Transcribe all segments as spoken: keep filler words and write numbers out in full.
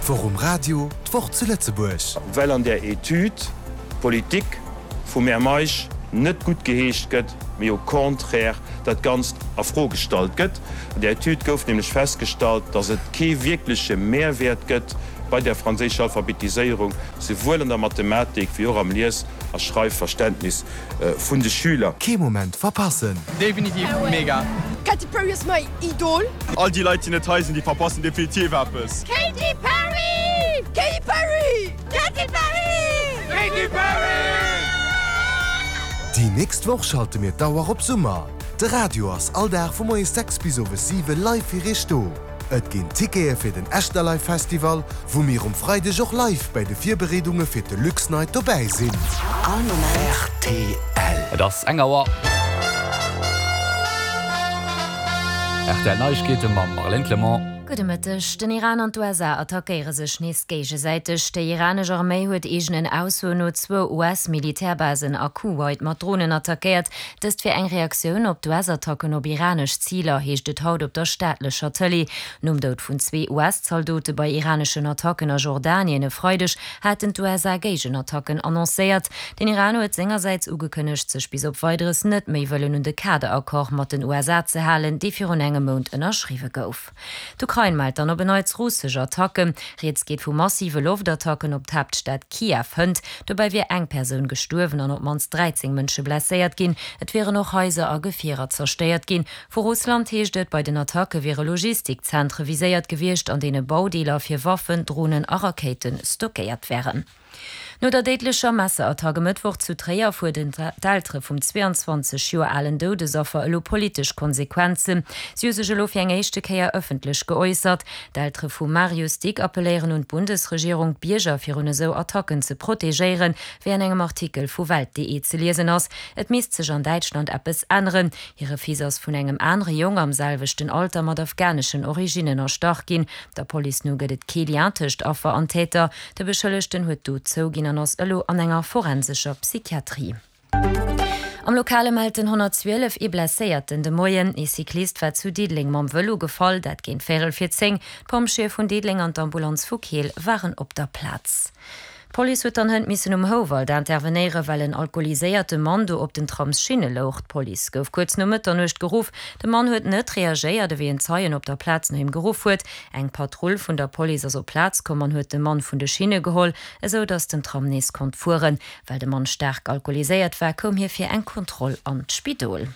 D'Woch um Radio, d'Woch zu Lëtzebuerg. Well an där Etüd d'Politik vum Här Meisch net guttgeheescht gëtt, mee au contraire dat Ganzt a Fro gestallt gëtt. An där Etüd gouf nämlech festgestallt, datt et kee wierkleche Mehrwäert gëtt bei der franséischer Alphabetiséierung, souwuel an der Mathematik wéi och am Lies a Schreifverständnis vun de Schüler. Kee Moment verpassen! Definitiv mega! Katy Perry ass mäi Idol! All déi Leit déi net hei sinn, déi verpassen definitiv eppes! Katy Perry! Katy Perry! Katy Perry! Katy Perry! Déi nächst Woch schalte mir d'Auer op Summer. De Radio ass all Dag vu moies sechs bis owes siwe live fir iech do. Et ginn Tickete fir den Echterlive Festival, wou mir um Freideg och live bäi de Virbereedunge fir d'Deluxe Night dobäi sinn. All Moment. Rtl. Et ass eng Auer. Rtl Neiegkeete mam Marlène Clement. Gudde Mëtteg. Den Iran an d'USA attackéiere sech nees géigesäiteg. Déi iranesch Arméi huet eegenen Aussoen no zwou US-Militärbasen a Kuwait mat Dronen attackéiert. Dëst wier eng Reaktioun op d'US-Attacken op iranesch Ziler, heescht et haut op der staatlecher Tëlee. Nom Doud vun zwee US-Zaldote bei iraneschen Attacken a Jordanien e Freideg haten d'USA Géigenattacken annoncéiert. Den Iran huet sengersäits ugekënnegt, sech bis op Weideres net méi wëllen un de Kaderaccord mat den USA ze halen, dee virun engem Mount ënnerschriwwe gouf. D'Ukrain mellt dann op en Neits russesch Attacken. Rieds geet vu massive Loftattacken op d'Haaptstad Kiew hënt. Dobäi wier eng Persoun gestuerwen an op d'mannst dräizéng Mënsche blesséiert ginn. Et wieren och Haiser a Gefierer zerstéiert ginn. Vu Russland heescht et, bei den Attacke wiere Logistikzentre viséiert gewiescht, an deene Baudeeler fir Waffen, Dronen a Rakéite stockéiert wären. No der déidlecher Messerattack e Mëttwoch zu Tréier fuerderen d'Eltere vum zwee an zwanzeg Joer alen Doudesaffer elo politesch Konsequenzen. Si hu sech elo fir eng éischte Kéier ëffentlech geäussert. D'Eltere vum Marius Dick appelléieren un d'Bundesregierung, d'Bierger virun esou Attacken ze protegéieren, wéi an engem Artikel vu Welt punkt de ze liesen ass. Et misst sech an Däitschland eppes änneren. Hire Fils ass vun engem anere Jong am selwechten Alter mat afghaneschen Originnen erstach ginn. Der Police no gëtt et kee Lien tëscht Affer an Täter. De Beschëllegten huet d'Dot zouginn an ass elo an enger forensescher Psychiatrie. Am Lokale mellt den honnertzwielef ee Blesséierten de Moien. Ee Cyclist war zu Diddeleng mam Vëlo gefall, dat géint véierel vir zéng. D'Pompjeeë vun Diddeleng an d'Ambulanz vu Keel waren op der Plaz. D'Police huet dann hënt missen um Houwald intervenéieren, well en alkoholiséierte Mann do op den Tramsschinne louch. D'Police gouf kuerz no Mëtternuecht geruff. De Mann huet net reagéiert, ewéi en Zeien op der Plaz no him geruff huet. Eng Patrull vun der Police ass op d'Plaz komm an huet de Mann vun de Schinne geholl, esou datt den Tram nees konnt fueren. Well de Mann staark alkoholiséiert war, koum hie fir eng Kontroll an d'Spidol.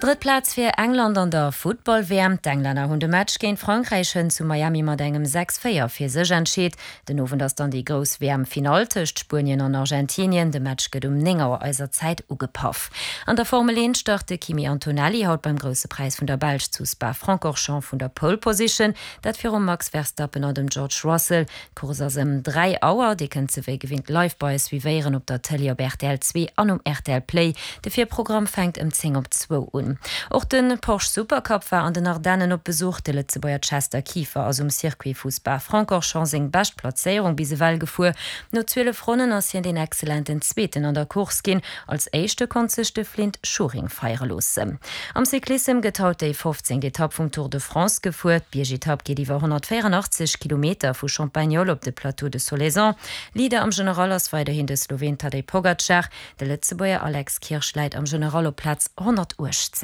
Drëtt Plaz fir England an der Futtball-W M. D'Englänner hunn de Match géint Frankräich hënt zu Miami mat engem sechs véier fir sech entscheet. Den Owend ass dann déi grouss W M-Finall tëscht Spuenien an Argentinien. De Match gëtt um néng Auer eiser Zäit ugepaff. An der Formel eent start de Kimi Antonelli haut beim Grousse Präis vun der Belsch zu Spa-Francorchamps vun der Pole Position, dat virum Max Verstappen an dem George Russell. D'Course ass ëm dräi Auer. Dir kënnt se wéi gewinnt live bei eis suivéieren op der Tëlee op R T L zwee an um R T L Play. De Virprogramm fänkt ëm zéng op zwou un. Och de Porsche Supercup war an den Ardennen op Besuch. De Lëtzebuerger Chester Kieffer ass um Circuit vu Spa-Francorchamps seng bescht Plazéierung bis ewell gefuer. No zwielef Ronnen ass hien den exzellenten Zweeten an der Course ginn. Als Éischte konnt sech de Flynt Schuring feiere loossen. Am Cyclissem gëtt haut déi fofzéngt Etapp vum Tour de France gefuer. D'Biergetapp geet iwwer honnertvéieranaachtzeg Kilometer vu Champagnole op de Plateau de Solaison. Leader am General ass weiderhin de Sloween Tadej Pogacar. De Lëtzebuerger Alex Kirsch läit am General op Plaz honnertuechtzéng.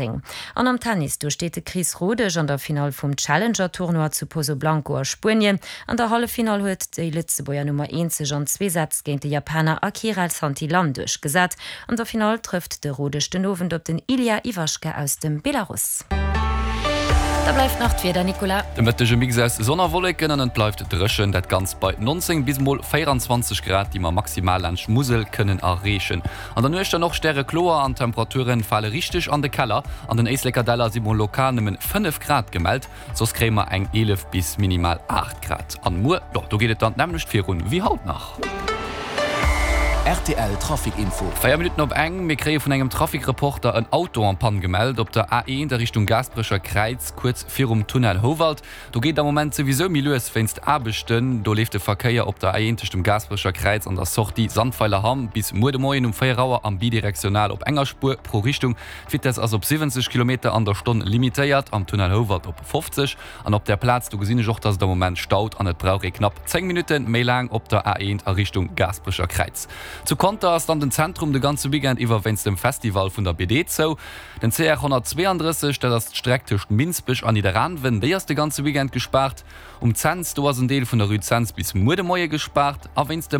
An am Tennis, do steet de Chris Rodesch an der Finall vum Challenger-Tournoi zu Pozoblanco a Spuenien. An der Halleffinall huet déi Lëtzebuerger Nummer eent sech an zwee Sätz géint de Japaner Akira Santillan duerchgesat. An der Finall trëfft de Rodesch den Owend op den Ilya Ivashka aus dem Belarus. Da bleift nach d'Wieder, Nicolas. De Mëtteg e Mix aus Sonn a Wolleken an et bleift dréchen, dat Ganzt bei nonzéng bis mol véieranzwanzeg Grad, déi mer maximal laanscht Musel kënnen erreechen. An der Nuecht dann och stärekloer an d'Temperature fale richteg an de Keller. An den Éisleker Däller si mol lokal nëmmen fënnef Grad gemellt, soss kréie mer eng eelef bis minimal aacht Grad. An muer, jo, do geet et dann d'nämmlecht virun wéi haut nach. Rtl Trafic Info. Véier Minutten op eng, Mir kréie vun engem Trafic-Reporter en Auto en panne gemellt op der A eent a Richtung Gaasperecher Kräiz, kuerz virum Tunnel Houwald. Do geet am Moment souwisou méi lues wéinst Aarbechten. Do leeft de Verkéier op der A eent tëscht dem Gaasperecher Kräiz an der Sortie Sandweiler Hamm bis muer de Moien um véier Auer am bidirektional op enger Spuer pro Richtung. D'Vitess ass op siwwenzeg Kilometer an der Stonn limitéiert, am Tunnel Houwald op fofzeg. An op där Plaz do gesinn ech och, dass et am Moment staut an et brauch ee knapp zéng Minutte méi laang op der A eent a Richtung Gaasperecher Kräiz. Zu Conter ass dann den Zentrum de ganze Weekend iwwer wéinst dem Festival vun der B D zou. Den C R honnertzweeandrësseg, dat ass d'Streck tëscht Minsbech an Nidderaanwen, déi ass de ganze Weekend gespaart. Um Cents, do ass en Deel vun der Rue Cents bis muer de Moie gespaart. A wéinst dem